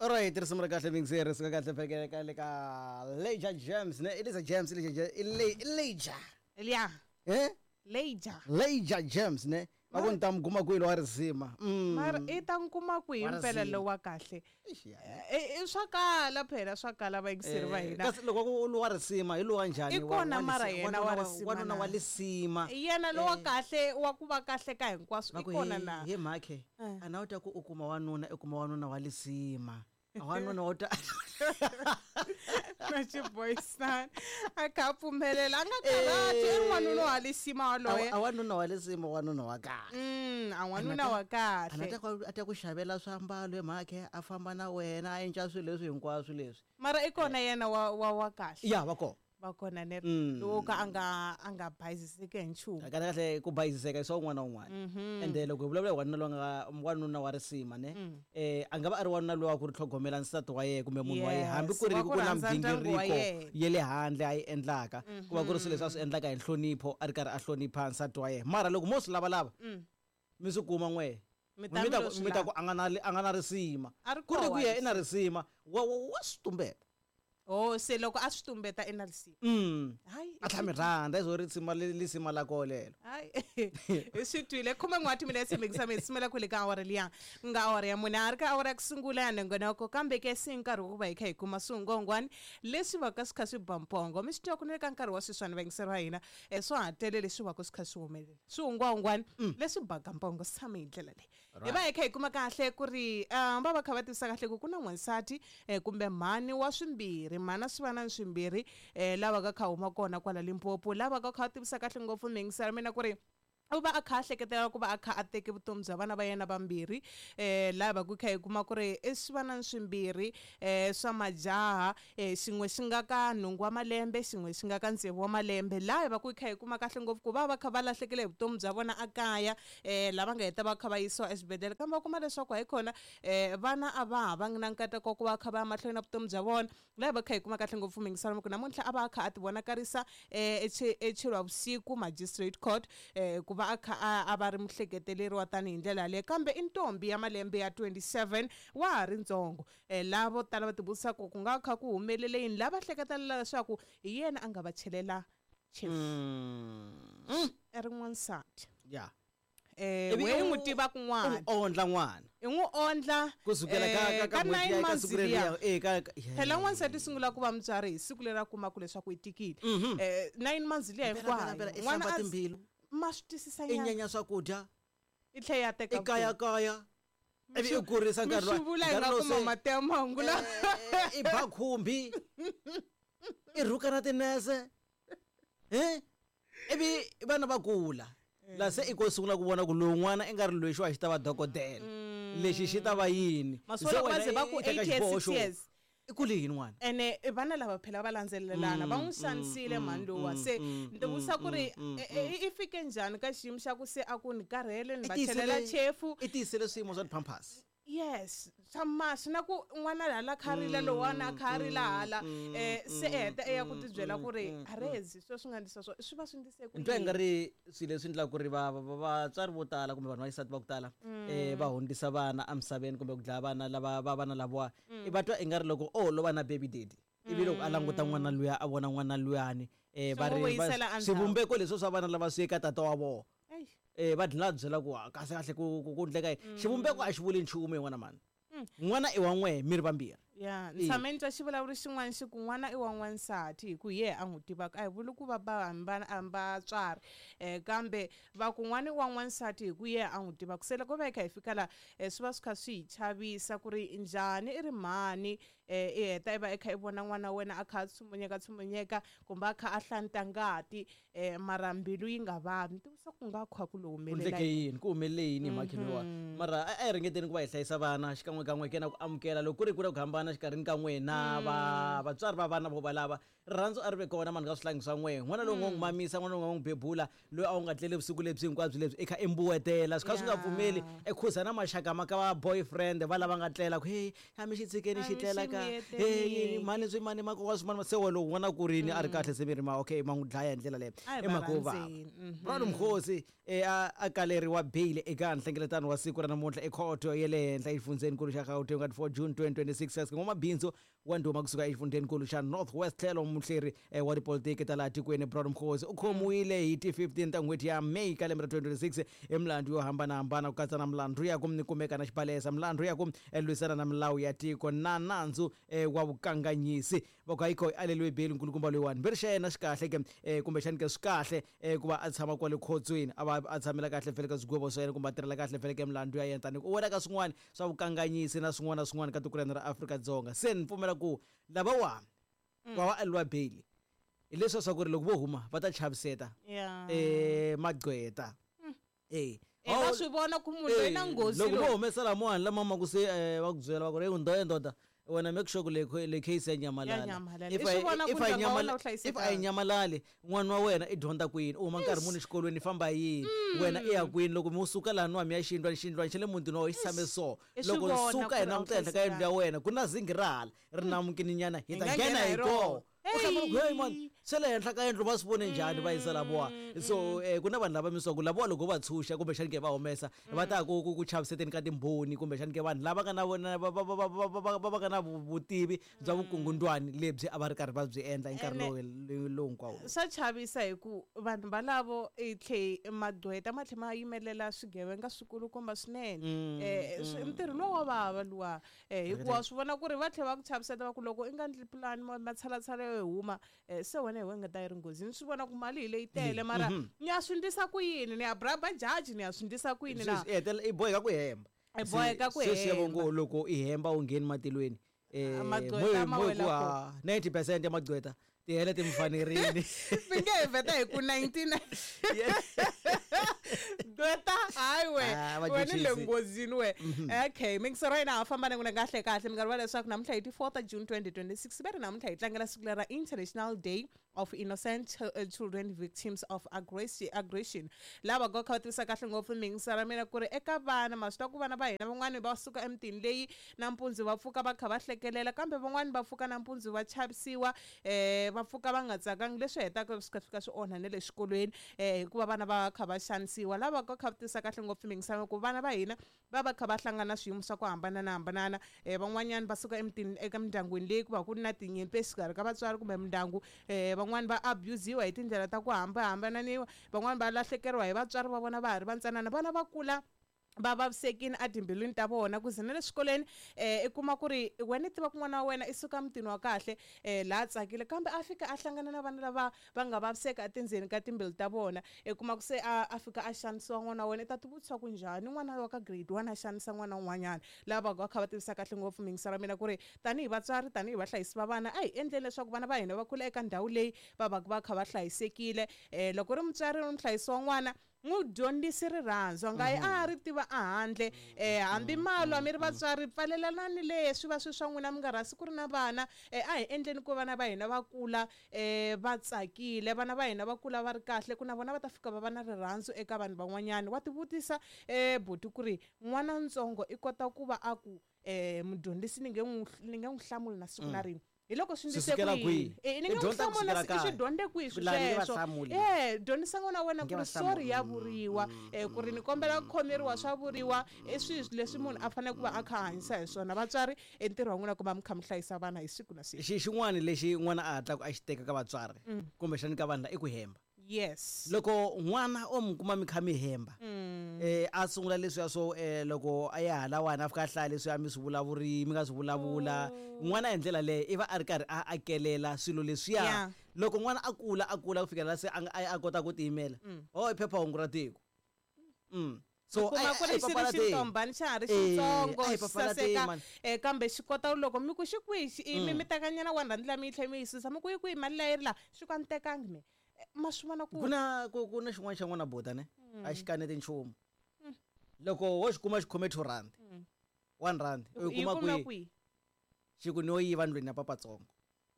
Alright, risimu ra kahle mixer risimu ra kahle phekele ka le ka Leja James ne Elisa James Elisa Leja Elia eh Leja Leja James ne va ku ni ta mi kuma kwihi lowa risima. Mara i ta n'wi kuma kwihi Wa mpela risima. lowa kahle? Eish, ya. I swa kala phela, swa kala vayingiseri va hina. Kasi loko ku lowa risima hi lowa njhani? I kona mara yena wa risima Wanuna na? wa lisima. Yena lowa kahle wa ku va kahle ka hinkwaswo Va i ku kona he na? he mhakhe a na u ta ku u kuma wanuna, u kuma wanuna wa lisima. A wanuna wa ta Na xiboyisana a kha a pfumelela, a nga karhati, i n'wanuna wa lisima waloye. A wanuna wa lisima, wanuna wa kahle. A n'wanuna wa A na kahle. ta ku a ta ku xavela swiambalo he mhakhe, a famba na wena, a endla swilo leswi hinkwaswo leswi. Mara i kona yena wa kahle. Ya va kona. Va kona ne lowo ka a nga bayiziseki hi nchumu. Kahle kahle ku bayiziseka i swa un'wana na un'wana. Ende loko hi vulavula hi wanuna loyi nga wanuna wa risima ne, a nga va a ri wanuna loyi wa ku ri tlhogomela nsati wa yena kumbe munhu wa yena, hambi ku ri Wa ku ku na rhandza ndyangu wa migingiriko yena. ya le handle a yi endlaka, ku va ku ri swilo leswi a swi endlaka hi nhlonipho, a ri karhi a hlonipha nsati wa yena. Mara loko mo swi lavalava mi swi kuma n'we, Mi ta mi lo swi mi ta lava. ku a nga na risima, A ri ku ri koho ku yena i na risima, wa swi tumbeta. Oh, se loko a swi tumbeta i na risima. Hayi. A tlhela mi rhandza i zo risima lisima la koho lelo. Hayi, hi swi twile. 11 wa timinetse mingisa mi simela kwele ka awara liya ku nga awara ya mune, a ri ka awara ya ku sungula ya nongonoko, kambe ke se nkarhi wa ku va hi kha hi kuma swingongwani leswi va ka swi kha swi ba mpongo. Mi swi twa ku ni le ka nkarhi wa sweswiwani vayingiseri va hina, swa ha tele leswi va ka swi kha swi humelela, swihungwahungwani leswi baka mpongo swi tshame hi ndlela leyi. Hi va hi kha hi kuma kahle ku ri va va kha va tivisa kahle ku ku na n'wansati, kumbe mhani wa swimbirhi, mhana swi va na swimbirhi, lava ka kha huma kona kwala Limpopo, lava ka kha va tivisa kahle ngopfu miyingiselo mina ku ri u va a kha a hleketela ku va a kha a teke vutomi bya vana va yena vambirhi, laha va ku kha hi kuma ku ri i swi vana swimbirhi, swa majaha, xin'we xi nga ka 8 wa malembe, xin'we xi nga ka 6 wa malembe, laha va ku kha hi kuma kahle ngopfu ku va va kha va lahlekele hi vutomi bya vona a kaya, lava nga heta va kha va yisiwa exibedhlele, kambe va kuma leswaku hayikhona, vana a va ha vangi na nkateko wa ku va kha va ya mahlweni na vutomi bya vona. Laha va kha hi kuma kahle ngopfu miyingiselo ku namuntlha a va a kha a ti vonakarisa, eChilwa vusiku magistrate court, ku va a kha a va ri muhleketeleriwa tanihi ndlela yaleyo, kambe i ntombi ya malembe ya 27, wa ha ri ntsongo. Lava vo tala va tivutisa ku ku nga kha ku humelele yini, lava hleketelela leswaku hi yena a nga va chelela chefu. I ri n'wansati. Ivi We n'wi tiva kun'wana. U n'wi ondla n'wana. I n'wi ondla, Kusukela ka ka n'hweti 9 ya ka months siku leriya, liya. ka, yeah. Phela n'wansati sungula ku va mutswari hi siku leri a kumaka leswaku i tikile. 9 months liya Phela, hinkwayo. phela, phela, i N'wana hlamba a timbilu. Ma swi twisisa I nyana. nyenya swakudya. I tlhela ya teka I kaya vutomi. kaya. Ivi u kurisa nkarhi wa- Mi swi vula hi nkarhi nga lowu kuma se- mati ya mahungu lawa. I ba khumbi. I rhuka na tinese. Ivi vana va kula. La se i ko sungula ku vona ku lowu n'wana i nga ri loyi xo a xi ta va dokodela. Lexi xi ta va yini? Masiku Se lawa wena va ze va ku i teka 8 years, xiboho 6 xo years. I kule yini n'wana? Ene vana lava phela va landzelelana, va n'wi xanisile mhani lowa. Se ni tivutisa ku ri i fike njhani ka xiyimo xa ku se a ku ni karhele ni va chelela chefu. I tiyisele swiyimo swa ti-pampers. Yes, swa masi na ku n'wana hala kha rila lowana kha rila hala, se heta eya ku tibyela ku ri arezi sweswi swi nga ndlisa swo swi va swi ndlise ku Ni twa yini? i nga ri swilo leswi endlaka ku ri vatswari vo tala kumbe vanhu va xisati va ku tala, va hundzisa vana emisaveni kumbe ku dlaya vana lava va vana lavawa. I va twa i nga ri loko o lo va na baby daddy, ivi loko a languta n'wana luya a vona n'wana luyani, va Swi n'wi ri va vuyisela endzhaku. swivumbeko leswi swa vana lava swi eka tata wa vona. Eish. Va dlina va byela ku, ah, kahle kahle ku endleka yini. Xivumbeko a xi vuli nchumu hi n'wana mani. N'wana i wa n'we, mi ri vambirhi. Ya, ni tshame ni twa xivulavuri xin'wana xi ku n'wana i wa n'wansati hi ku hi yehe a n'wi tivaka. A hi vuli ku va ba hambi vatswari, kambe va ku n'wana i wa n'wansati hi ku yehe a n'wi tivaka. Se loko va hi kha hi fika laha, swi va swi kha swi hi chavisa ku ri njhani i ri mhani, i heta i va i kha i vona n'wana wa wena a kha a tshumunyeka tshumunyeka kumbe a kha a hlanta ngati, mara mbilu yi nga vavi. Ni tivisa ku nga kha ku lo humelela Ku endleke yini. yini, ku humelele yini hi mhakeni lowa. Mara a hi ringeteni ku va hi hlayisa vana xikan'wekan'we ke na ku amukela loko ku ri ku na ku hambana. hambana xikarhini ka n'wina va vatswari va vana vo valava rirhandzu a ri ve kona mani ka swihlangi swa n'wehe n'wana lowu nga n'wi mamisa n'wana lowu nga n'wi bebula loyi a wu nga tleli vusiku lebyi hinkwabyo lebyi i kha i mbuwetela swi kha swi nga pfumeli i khuza na maxaka ma ka va boyfriend va lava nga tlela ku hey a mi xi tshikeni xi tlela ka hey yini mhani swi mani makokwa swi mani se wa lowu n'wana ku rini a ri kahle se mi ri ma okay ma n'wi dlaya hi ndlela leyo i mhaka yo vava Brown Mkhosi a a kaleriwa beyili eka nhlengeletano wa siku ra namuntlha ekhoto ya le henhla exifundzheninkulu xa Gauteng ka 4 June 2026 kasi n'wamabindzu wa ndhuma kusuka exifundzheninkulu xa North West tlhelo muhleri wa tipolitiki ta laha tikweni Brown Mkhosi u khomiwile hi ti 15 ta n'hweti ya May ka lembe ra 2026 hi milandzu yo hambanahambana ku katsa na milandzu ya ku kumeka na xibalesa milandzu ya ku lwisana na milawu ya tiko na nandzu wa vukanganyisi. Va ku hayikho i aleriwe beyili nkulukumba loyiwani mbirhi xa yena xi kahle ke kumbexani ke swi kahle ku va a tshama kwale khotsweni a va a tshamela kahle vhele ka swigwevo swa yena kumbe a tirhela kahle vhele ka milandzu ya yena tani u wela ka swin'wana swa vukanganyisi na swin'wana na swin'wana ka tiko ra hina ra Afrika-Dzonga se ni pfumela ku lavawani va va aleriwa beyili hi leswiya swa ku ri loko vo huma va ta chaviseta magqweta. E va swi vona ku munhu loyi na nghozi loko vo humesa lamawani lama ma ku se va ku byela va ku ri ndoda ndoda wena make sure ku le le case ya nyamalala if if a yi nyamalali n'wana wa wena i dyondza kwini u huma nkarhi muni exikolweni i famba yini wena i ya kwini loko mi suka laha nwa mi ya xiyindlwani xiyindlwani xa le mutini wa wena xi tshame so loko suka hi languta henhla ka yindlu ya wena ku na zinghi ra hala ri namukini nyana hi ta nghena hi koho u hlamula ku hey man swa le henhla ka yindlu va swi vone njhani va yisa lavowa so ku na vanhu lava mi swa ku lavowa loko va tshunxa kumbexani ke va humesa va ta ku ku ku chaviseteni ka timbhoni kumbexani ke vanhu lava nga na vona va va va va va va va va nga na vutivi bya vukungundwani lebyi a va ri karhi va byi endla hi nkarhi lowu lowu hinkwawo. Swa chavisa hi ku vanhu valavo i tlhe magqweta ma tlhe ma yimelela swigevenga swikulukumba swinene ntirho lowu wa vava luwa. Hikuva swi vona ku ri va tlhela va ku chaviseta va ku loko i nga ndli pulani matshalatshala yo huma se wena hi wena nga ta yi ri nghozini swi vona ku mali hi leyi tele mara ni ya swi ndlisa ku yini ni ya bribe judge ni ya swi ndlisa ku yini na i hetelela i boheka ku hemba i boheka ku hemba sweswi ngo loko i hemba u ngheni matilweni magqweta ma wela ku 90% ya magqweta tihele ti mi fanerile mi nge hi vheta hi ku 99 gqweta hayi we Ah, va wena le chuchisi. nghozini we okay mingisero yina ha famba na n'wina kahle kahle mi nga rivala leswaku namuntlha hi ti 4 ta June 2026 ve ri namuntlha hi tlangela siku lera International Day of Innocent Children Victims of Aggression lava go kha va tivisa kahle ngopfu mingisero ra mina ku ri eka vana ma swi tiva ku vana va hina van'wani va suka emitini leyi nampundzu va pfuka va kha va hlekelela kambe van'wani va pfuka nampundzu va chavisiwa va pfuka va nga tsakangi leswi hetaka swi fika swi onha na le xikolweni hikuva vana va kha va xanisiwa lava ka kha va tivisa kahle ngopfu mingisano ku vana va hina va va kha va hlangana swiyimo swa ku hambananahambanana van'wanyana va suka emitini eka mindyangwini leyi ku va ku ri na tinyimpi exikarhi ka vatswari kumbe mindyangu van'wani va abusiwa hi tindlela ta ku hambahambananiwa van'wani va lahlekeriwa hi vatswari va vona va ha ri vantsanana vana va kula va vavisekile etimbilwini ta vona ku ze na le swikolweni i kuma ku ri wena i tiva ku n'wana wa wena i suka mutini wa kahle laha tsakile kambe a fika a hlangana na vana lava va nga vaviseka etindzeni ka timbilu ta vona i kuma ku se a fika a xanisiwa n'wana wa wena i ta tivutisa ku njhani n'wana wa ka grade 1 a xanisa n'wana un'wanyana lava va kha va tivisa kahle ngopfu mingisa ra mina ku ri tanihi vatswari tanihi vahlayisi va vana a hi endleni leswaku vana va hina va kula eka ndhawu leyi va va va kha va hlayisekile loko ri mutswari ri muhlayisi wa n'wana n'wi dyondzisi rirhandzu a nga yi a ri tiva ehandle hambi malwa mi ri vatswari pfalelanani leswi va swi swa n'wina mi nga rhasi ku ri na vana a hi endleni ku vana va hina va kula va tsakile vana va hina va kula va ri kahle ku na vona va ta fika va va na rirhandzu eka vanhu van'wanyana wa tivutisa buti ku ri n'wana ntsongo i kota ku va a ku mudyondzisi ni nge n'wi hlamuli na siku na rin'we hi loko swi ndlise ku yini ni nge n'wi hlamula i swi dyondze kwihi swi sweswo dyondzisa n'wana wa wena ku ri sorry ya vuriwa ku ri ni kombela ku khomeriwa swa vuriwa i swilo leswi munhu a fanele ku va a kha a hanyisa hi swona vatswari i ntirho wa n'wina ku va mi kha mi hlayisa vana hi siku na siku xin'wana lexi n'wana a hatlaka a xi teka ka vatswari kumbexani ka vanhu la i ku hemba Yes. Loko n'wana o mi kuma mi kha mi hemba a sungula leswiya swo loko a ya halawani a fika a hlaya leswiya mi swi vulavuri mi nga swi vulavula n'wana hi ndlela leyo i va a ri karhi a akelela swilo leswiya loko n'wana a kula a kula ku fikela la se a a kota ku tiyimela ho i phephahungu ra tiko so kuma ku ri xi ri xintombani xa ha ri xitsongo xi saseka kambe xi kota loko mi ku xi kwihi mi mi tekanyana one rand liya mi yi tlhela mi yi susa mi ku yi kwihi mali liya yi ri laha xi ku a ni tekangi me ma swi vona ku na ku na xin'wana xa n'wana buta ne a xi kaneti nchumu loko wo xi kuma xi khome 2 rand 1 rand u yi kuma kwihi. Xi ku no yiva ndlwini ya papatsongo.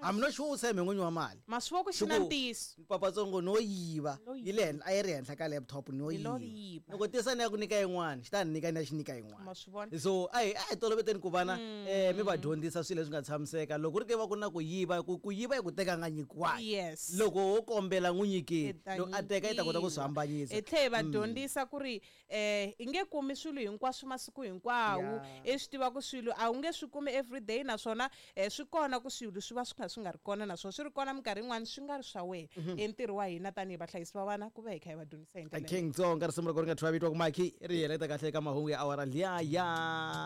I'm not sure u tshembe n'winyi wa mali. Ma swi vona ku xi na Xi ku, ntiyiso. Papatsongo no yiva. No Yi le henhla, a yi ri henhla ka laptop no Hi lo yiva. yiva. Loko tisa ni ya ku nyika yin'wana, xi ta ni nyika ni ya xi nyika yin'wana. Ma swi vona? So a hi toloveteni ku vana mi va dyondzisa swilo leswi nga tshamiseka. Loko ku ri ke va ku na ku yiva, ku yiva i ku teka nga nyikiwangi. Yes. Loko wo kombela n'wi nyikeni, I ta loko a teka i ta kota ku swi nyikiwa. hambanyisa. Hi tlhe hi va dyondzisa ku ri i nge kumi swilo hinkwaswo masiku hinkwawo. I swi tiva ku swilo a wu nge swi kumi everyday, naswona swi kona ku swilo swi va swi kha swi nga ri kona, naswona swi ri kona minkarhi yin'wani swi nga ri swa wena. I ntirho wa hina tanihi vahlayisi va vana ku va hi kha hi va dyondzisa hi ndlela. King Tsonga, risimu ra ku ri nga thyiwa vito ku Maki, ri heleta kahle eka mahungu ya awara liya ya.